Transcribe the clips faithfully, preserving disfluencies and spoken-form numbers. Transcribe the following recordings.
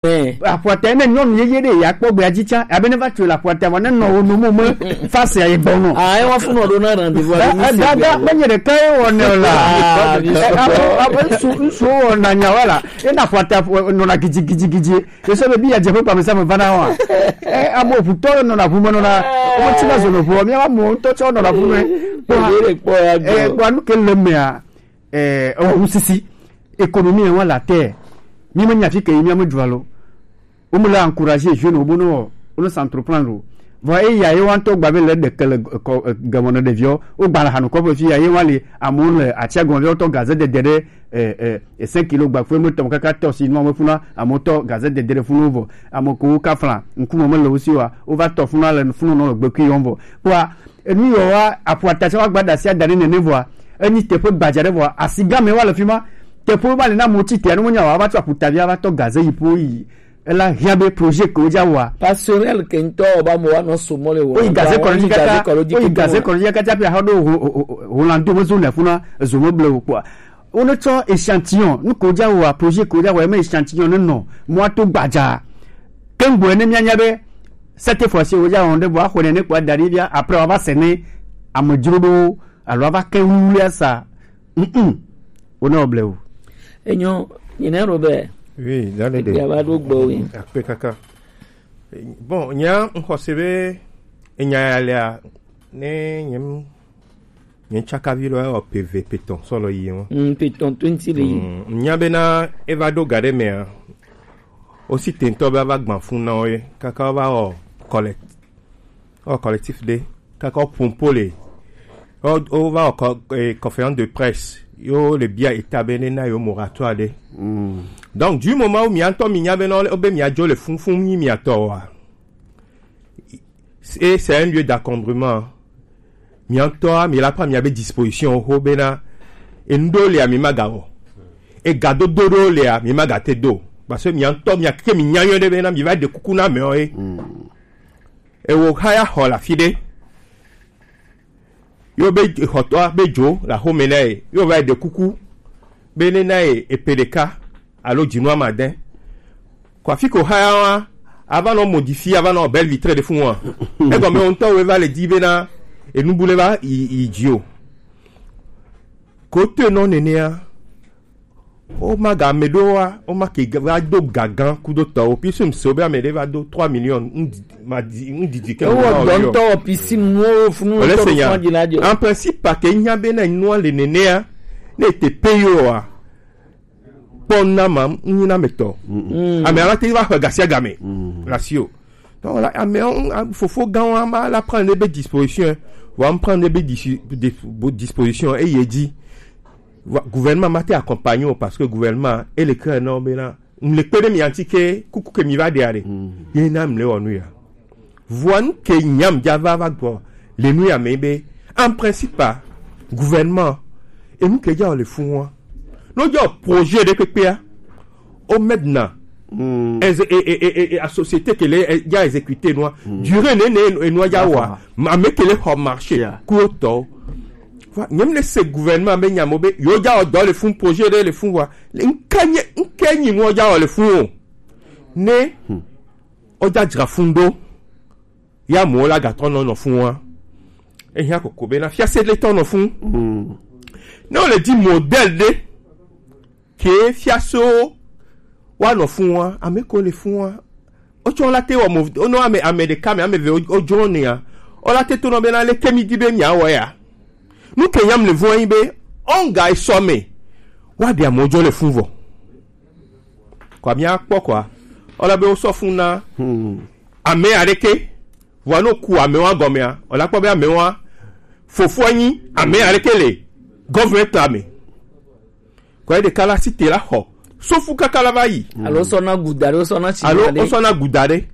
Eh. Aƒuata ne nyɔnu yeye ɖe ya kpɔ gbea dzi tsã, abe ne va tsoe le aƒuata vɔ ne nɔ wo nomo me fa se ayi gbɔ nɔ. Ah, ewa funu ɖo na rendez-vous. Eh, eh, dada, menye ɖeka ye wɔ ne o la. Ah, eh, abe, abe ŋsu, ŋsu wɔ na nya wa la. Ena aƒuata nɔna gidzi, gidzi, gidzi. Ese be bi ya dze ƒe gbame sa me va na wa. Eh, ame ʋutɔ nɔna ʋu me nɔna. Wo tsi na zo no ʋu. Mi wa mo ŋutɔ tsɔ nɔna ʋu me. Kpɔ, eh, kpɔ nu ke le mea. Eh, ewɔ ŋusisi, économie wa la terre. Mi me nya fi ke yi mi ame dzua lo. Wo me le encourager jeune wo bono, wo ne s'entreprendre o. Vɔ eya ye wa ŋutɔ gba be le ɖeke le kɔ, eh, gɛmɔ ne ɖeviwo. Wo gba le hanu kɔƒe fi ya ye wa le amewo le atia gɔme vɔ tɔ gaze dede ɖe, eh, eh, eh, cinq kilo gba fue me tɔ kaka tɔ si nua me funa amewo tɔ gaze dede ɖe funu vɔ. Ame ko wo ka fla ŋkume me le wo si wa. Wo va tɔ funa le funu nɔ le gbekui yɔm vɔ. Kpɔa, enu yɔ wa aƒuata tsɛ wa gba ɖe asi ada ɖe nene vɔa, enyi teƒe gbadza ɖe vɔa, asigame wa le fi ma. Teƒe ma le na amewo tsi te, anu menya wa, va tso aƒuta via va tɔ gaze yi ƒo yi. Ela hiã be projet ke wodza wɔa. Passerelle ke ŋutɔ wɔ ba mo wa nɔ so mɔ le wo. Oyi gaze kɔnɔ dzi kaka, oyi gaze kɔnɔ dzi kaka pe ahɔ ɖo ho, ho, ho, Holando me zo ne funa ezo me ble wo kpɔa. Wo ne tsɔ échantillon, nu ke wodza wɔa, projet ke wodza wɔa, eme échantillon ne nɔ mɔa to gbadza. Kengboe ne mianya be, cette fois-ci wodza wɔn ɖe vɔ axɔ nene kpɔa da ɖi via, après wa va se ne amedzroɖowo alo ava ke wluwlua sa. Mm-mm. Wo ne wo ble o. Enyo, nyine Robert. Oui, dale de. Ekpia va ɖo gbɔ wi. Akpe kaka. Bon, nya ŋxɔse be enya ya lea, ne nyem, nye tsakavi lɔ ewɔ peve petɔn sɔ lɔ yi ŋu. Mm, petɔn twenty le yi. Mm, nya bena eva ɖo ga ɖe mea, wosi tentɔ be ava gbã fun na wo ye, kaka wova wɔ collecte. Wɔ collectif ɖe, kaka wo pompo le. Wo, wova wɔ kɔ, eh, conférence de presse. Yo le bia état be ne na yo moratoire ɖe. Mm. Donc, du moment où mi ŋutɔ mi nya be no, be mi adzo le funfun nyi mi atɔ wa. Et c'est un lieu d'encombrement. Mi ŋutɔ mi la prend mi a be disposition ho bena enu ɖo le mi ma ga wɔ. E ga dodo ɖo le mi ma ga te do. Parce que mi ŋutɔ mi a ke mi nya yɔ ɖe bena mi va ɖe kuku na me o e. Mm. Ewo haya xɔ le afi ɖe. Yo be xɔtɔa be dzo le axome na ye. Yo va yi ɖe kuku be ne na ye epe ɖeka alo dzinu amadɛ. Ko afi ko haya wa ava nɔ modifier, ava nɔ belle vitrée ɖe fun wa. Egɔme wo ŋutɔ wo va le di be na enu bu le va yi, yi dzi o. Ko to nɔ nenea. Wo ma ga ame ɖewo wa, wo ma ke va do gagan kudo tɔwo. Puisque mi se be ame ɖe va do trois millions, ŋdi-, ma di, ŋdidi ke. Ewo dɔntɔ wɔ piscine nuwo funu. Ole tɔ se nya. Fún adina jɔ. En principe, pa ke nya be na nua le nenea, ne te paye wa, kpɔ na ma, nyi na me tɔ. Mm. Ame ala te va xɔ gasia game. Mm. La si o. Donc, la, ame, on, a, fofo gã wa ma la prendre be disposition. Wa prendre be disi-, de, bo disposition, eye di. Wa-, gouvernement ma te accompagner o parce que gouvernement, e le kre na wo be na, m le kpe ɖe mi anti ke kuku ke mi va ɖe aɖe. Mm. Ye na m le wɔ nu ya. Vɔa nu ke nyam dza va va gbɔ le nu ya me be, en principe, gouvernement, enu ke dza wɔ le fun wa. No dza wɔ projet ɖe kpekpea, o maintenant, mm, eze-, e, e, e, e, a société ke le, e, dza exécuter nua. Mm. Durée ne, ne, e nua dza wa. Ame ke le xɔ marché. Yeah. Ku tɔ. Wa, nyem le se gouvernement be nyamo be, yo dza wɔ dɔ le fun, projet ɖe le fun wa. Le nke nye, nke nyi nua dza wɔ le fun o. Ne, hmm, o dza dzra fun ɖo. Ya mo la gatrɔ nɔ nɔ fun wa. Ehia koko be na fiase le tɔ nɔ fun. Hmm. Ne o le di modèle ɖe. Ke fiaso wa nɔ fun wa, ame ko le fun wa. O tsɔ la te wɔ mo, o nɔ ame, ame ɖeka me, ame eve o, o jɔ ne ya. O la te to nɔ be na le ke mi di be mi awɔ ya. Nu ke nyam le vɔ yin be, onga esɔ me. Wa de amo jɔ le fun vɔ. Kwa mi akpɔ kwa. O la be o sɔ fun na. Hmm. Ame aɖeke. Vɔ no ku ame wa gɔmea. O la kpɔ be ame wa. Fofo nyi, ame aɖeke le. Government ame. Kɔ ɖeka la si te la xɔ. Sofu kaka la va yi. Alo sɔ na guda ɖe, sɔ na tsi. Alo ɖe. O sɔ na guda ɖe.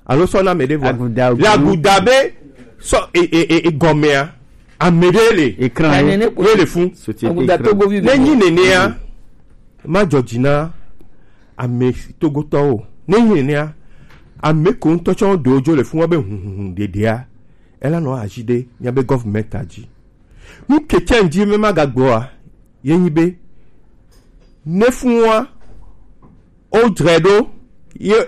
Alo sɔ na me ɖe vɔ. Aguda. Le aguda be sɔ e, e, e, e gɔmea. Ame ɖe le. Écran. Ye le fun. Société aguda écran. Togo vi. Ne nyi nenea. Mm. Ma dzɔ dzi na ame togotɔwo. Ne nyi nenea. Ame ko ŋutɔ tsɔ do dzo le fun wa be hunhun ɖeɖea. Ela nɔ azi ɖe mia be government a dzi. Nu ke tsɛ ŋdi me ma gagbɔa, ye nyi be, ne fun wa, o dzre ɖo, Yo,